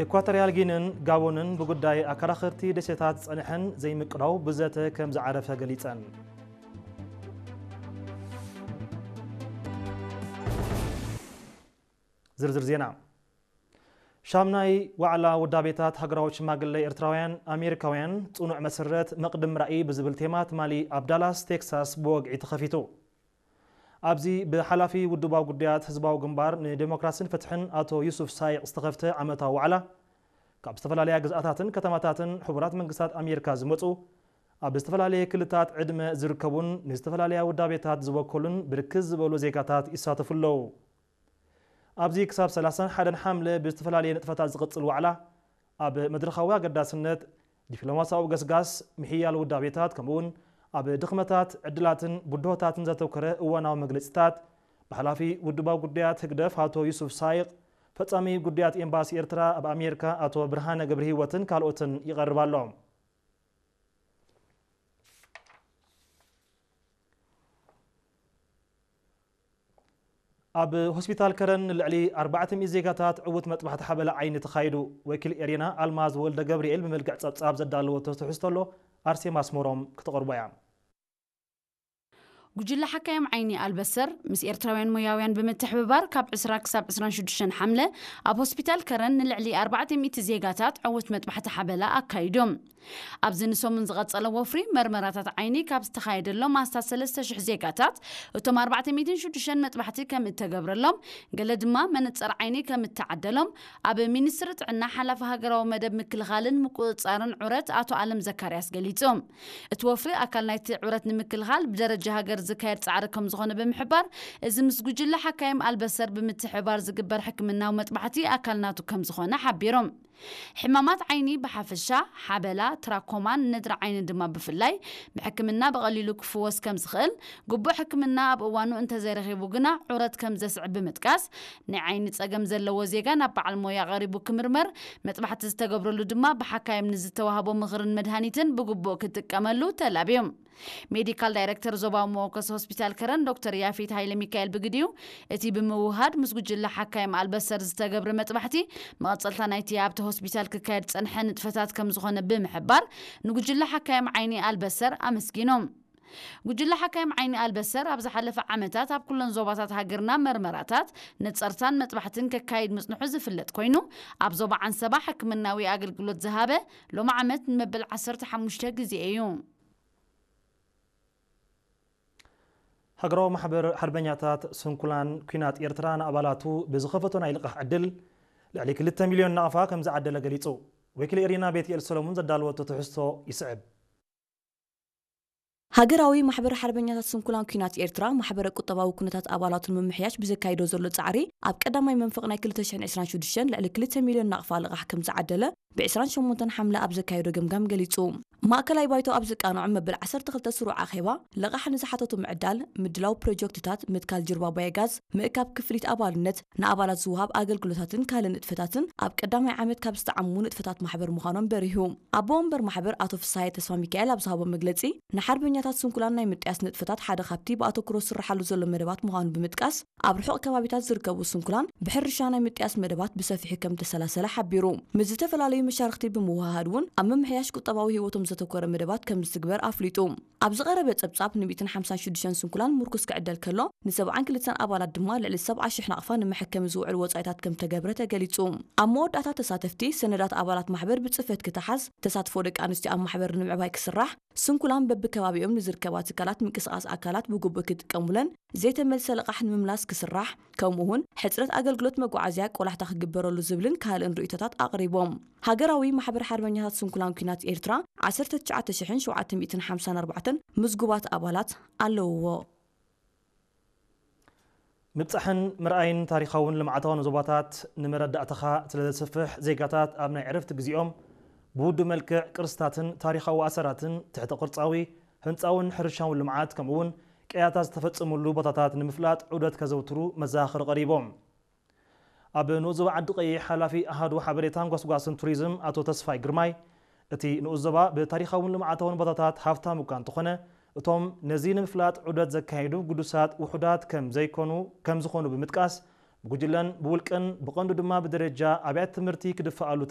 ኢኳቶርያል ጊንን ጋቦንን ብጉዳይ ኣከራኸርቲ ደሴታት ጸንሐን ዘይምቅዳው ብዘተ ከም ዝዓረፈ ገሊጸን። ዝርዝር ዜና። ሻምናይ ዋዕላ ውዳቤታት ሃገራዊ ሽማግለ ኤርትራውያን ኣሜሪካውያን ጽኑዕ መሰረት መቕድም ራእይ ብዝብል ቴማ ትማሊ ኣብ ዳላስ ቴክሳስ ብወግዒ ተኸፊቱ። ኣብዚ ብሓላፊ ውድባዊ ጉዳያት ህዝባዊ ግንባር ንዴሞክራሲን ፍትሕን ኣቶ ዩሱፍ ሳይቕ ዝተኸፍተ ዓመታዊ ዋዕላ ካብ ዝተፈላለያ ግዝኣታትን ከተማታትን ሕቡራት መንግስታት ኣሜሪካ ዝመጹ ኣብ ዝተፈላለየ ክልታት ዕድመ ዝርከቡን ንዝተፈላለያ ውዳቤታት ዝወከሉን ብርክት ዝበሉ ዜጋታት ይሳተፉ ኣለዉ። ኣብዚ ክሳብ ሰላሳን ሓደን ሓምለ ብዝተፈላለየ ንጥፈታት ዝቕጽል ዋዕላ ኣብ መድረኻዊ ኣገዳስነት፣ ዲፕሎማሲያዊ ገስጋስ፣ ምሕያል ውዳቤታት ከምኡውን ኣብ ድኽመታት፣ ዕድላትን ብድሆታትን ዘተኮረ እዋናዊ መግለጺታት ብሓላፊ ውድባዊ ጉዳያት ህግደፍ ኣቶ ዩሱፍ ሳይቕ፣ ፈጻሚ ጉዳያት ኤምባሲ ኤርትራ ኣብ ኣሜሪካ ኣቶ ብርሃነ ገብረሂወትን ካልኦትን ይቐርብ ኣሎ። ኣብ ሆስፒታል ከረን ንልዕሊ ኣርባዕተ ሚእቲ ዜጋታት ዕዉት መጥባሕቲ ሓበላ ዓይኒ ተኻይዱ። ወኪል ኤሪና ኣልማዝ ወልደ ገብርኤል ብመልክዕ ጸብጻብ ዘዳለወቶ ትሕዝቶ ኣሎ፣ ኣርሴማ ኣስመሮም ክተቕርቦ እያ። ጉጅለ ሓካይም ዓይኒ ኣልበሰር ምስ ኤርትራውያን ሞያውያን ብምትሕብባር ካብ ዕስራ ክሳብ ዕስራን ሽዱሽተን ሓምለ ኣብ ሆስፒታል ከረን ንልዕሊ ኣርባዕተ ሚእቲ ዜጋታት ዕዉት መጥባሕቲ ሓበላ ኣካይዶም። ኣብዚ ንሰሙን ዝቐጸለ ወፍሪ መርመራታት ዓይኒ ካብ ዝተኻየደሎም ኣስታት ሰለስተ ሽሕ ዜጋታት፣ እቶም ኣርባዕተ ሚእትን ሽዱሽተን መጥባሕቲ ከም እተገብረሎም፣ ገለ ድማ መነጸር ዓይኒ ከም እተዓደሎም፣ ኣብ ሚኒስትሪ ጥዕና ሓላፊ ሃገራዊ መደብ ምክልኻልን ምቁጽጻርን ዑረት ኣቶ ኣለም ዘካርያስ ገሊጹ። እቲ ወፍሪ ኣካል ናይቲ ዑረት ንምክልኻል ብደረጃ ሃገር ዝካየድ ጻዕሪ ከም ዝኾነ ብምሕባር፣ እዚ ምስ ጉጅለ ሓካይም ኣልበሰር ብምትሕብባር ዝግበር ሕክምናዊ መጥባሕቲ ኣካል ናቱ ከም ዝኾነ ሓቢሮም። ሕማማት ዓይኒ ብሓፈሻ፣ ሓበላ፣ ትራኮማን ነድሪ ዓይኒ ድማ ብፍላይ፣ ብሕክምና ብቐሊሉ ክፍወስ ከም ዝኽእል፣ ግቡእ ሕክምና ኣብ እዋኑ እንተዘይረኺቡ ግና ዑረት ከም ዘስዕብ ብምጥቃስ፣ ናይ ዓይኒ ጸገም ዘለዎ ዜጋ ናብ በዓል ሞያ ቀሪቡ ክምርመር፣ መጥባሕቲ ዝተገብረሉ ድማ ብሓካይም ንዝተዋህቦ ምኽርን መድሃኒትን ብግቡእ ክጥቀመሉ ተላብዮም። ሜዲካል ዳይሬክተር ዞባዊ መወከሲ ሆስፒታል ከረን ዶክተር ያፌት ሃይለ ሚካኤል ብግዲኡ፣ እቲ ብምውሃድ ምስ ጉጅለ ሓካይም ኣልበሰር ዝተገብረ መጥባሕቲ፣ መቐጸልታ ናይቲ ኣብቲ ሆስፒታል ክካየድ ጸንሐ ንጥፈታት ከም ዝኾነ ብምሕባር፣ ንጉጅለ ሓካይም ዓይኒ ኣልበሰር ኣመስጊኖም። ጉጅለ ሓካይም ዓይኒ ኣልበሰር ኣብ ዝሓለፈ ዓመታት ኣብ ኩለን ዞባታት ሃገርና መርመራታት፣ ነጸርታን መጥባሕትን ከካይድ ምጽንሑ ዝፍለጥ ኮይኑ፣ ኣብ ዞባ ዓንሰባ ሕክምናዊ ኣገልግሎት ዝሃበ ሎሚ ዓመት ንመበል ዓሰርተ ሓሙሽተ ግዜ እዩ። ሃገራዊ ማሕበር ሓርበኛታት ስንኩላን ኲናት ኤርትራ ንኣባላቱ ብዝኸፈቶ ናይ ልቓሕ ዕድል ልዕሊ ክልተ ሚልዮን ናቕፋ ከም ዝዓደለ ገሊጹ። ወኪል ኤሪና ቤትኤል ሰሎሙን ዘዳለወቶ ትሕዝቶ ይስዕብ። ሃገራዊ ማሕበር ሓርበኛታት ስንኩላን ኲናት ኤርትራ፣ ማሕበረ ቁጠባዊ ኩነታት ኣባላቱ ንምምሕያሽ ብዘካይዶ ዘሎ ጻዕሪ፣ ኣብ ቀዳማይ መንፈቕ ናይ ክልተ ሽሕን ዕስራን ሽዱሽተን ልዕሊ ክልተ ሚልዮን ናቕፋ ልቓሕ ከም ዝዓደለ፣ ብ ዕስራን ሸሞንተን ሓምለ ኣብ ዘካየዶ ገምጋም ገሊጹ። ማእከላይ ባይቶ ኣብ ዘቃንዖ መበል ዓሰርተ ክልተ ስሩዕ ኣኼባ፣ ልቓሕ ንዝሓተቱ ምዕዳል፣ ምድላው ፕሮጀክትታት፣ ምትካል ጅርባ ባዮጋዝ፣ ምእካብ ክፍሊት ኣባልነት፣ ንኣባላት ዝወሃብ ኣገልግሎታትን ካልእ ንጥፈታትን ኣብ ቀዳማይ ዓመት ካብ ዝተዓሙ ንጥፈታት ማሕበር ምዃኖም በሪሁ። ኣቦ ወንበር ማሕበር ኣቶ ፍስሃየ ተስፋ ሚካኤል ኣብ ዝሃቦ መግለጺ፣ ንሓርበኛታት ስንኩላን ናይ ምጥያስ ንጥፈታት ሓደ ካብቲ ብኣተኩሮ ዝስርሓሉ ዘሎ መደባት ምዃኑ ብምጥቃስ፣ ኣብ ርሑቕ ከባቢታት ዝርከቡ ስንኩላን ብሕርሻ ናይ ምጥያስ መደባት ብሰፊሑ ከም ዝተሰላሰለ ሓቢሩ። ምስ ዝተፈላለዩ መሻርኽቲ ብምውህሃድ እውን ኣብ ምምሕያሽ ቁጠባዊ ህይወቶም ዘተኮረ መደባት ከም ዝትግበር ኣፍሊጡ። ኣብ ዝቐረበ ጸብጻብ ን ሚእትን ሓምሳን ሽዱሽተን ስንኩላን ምርኩስ ክዕደል ከሎ፣ ን ሰብዓን ክልተን ኣባላት ድማ ልዕሊ ሰብዓ ሽሕ ናቕፋ ንመሐከሚ ዝውዕል ወጻኢታት ከም ተገብረ ተገሊጹ። ኣብ መወዳእታ ተሳተፍቲ፣ ሰነዳት ኣባላት ማሕበር ብጽፈት ክተሓዝ፣ ተሳትፎ ደቂ ኣንስትዮ ኣብ ማሕበር ንምዕባይ ክስራሕ፣ ስንኩላን በብከባቢኦም ንዝርከባ ትካላት ምንቅስቓስ ኣካላት ብግቡእ ክጥቀሙለን፣ ዘይተመልሰ ልቓሕ ንምምላስ ክስራሕ፣ ከምኡ እውን ሕጽረት ኣገልግሎት መጓዓዝያ ቆላሕታ ክግበረሉ ዝብልን ካልእን ርእይቶታት ኣቕሪቦም። ሃገራዊ ማሕበር ሓርበኛታት ስንኩላን ኲናት ኤርትራ፣ ዓሰርተ ትሽዓተ ሽሕን ሸውዓተ ሚእትን ሓምሳን ኣርባዕተን ምዝጉባት ኣባላት ኣለውዎ። ምብጻሕን ምርኣይን ታሪኻውን ልምዓታውን ዞባታት ንመረዳእታኻ ስለ ዘስፍሕ፣ ዜጋታት ኣብ ናይ ዕረፍቲ ግዜኦም ብውዱእ መልክዕ ቅርስታትን ታሪኻዊ ኣሰራትን፣ ትሕተ ቅርጻዊ፣ ህንጻውን ሕርሻውን ልምዓት፣ ከምኡውን ቅያታት ዝተፈጸሙሉ ቦታታት ንምፍላጥ ዑደት ከዘውትሩ መዘኻኸሪ ቀሪቦም። ኣብ ንኡስ ዞባ ዓዲ ቀይሕ ሓላፊ ኣሃዱ ሓበሬታን ጓስጓስን ቱሪዝም ኣቶ ተስፋይ ግርማይ፣ እቲ ንኡስ ዞባ ብታሪኻውን ልምዓታውን ቦታታት ሃፍታም እኳ እንተኾነ፣ እቶም ነዚ ንምፍላጥ ዑደት ዘካየዱ ግዱሳት ውሑዳት ከም ዘይኮኑ፣ ከም ዝኾኑ ብምጥቃስ፣ ብጉጅለን ብውልቅን ብቐንዱ ድማ ብደረጃ ኣብያተ ትምህርቲ ክድፈኣሉ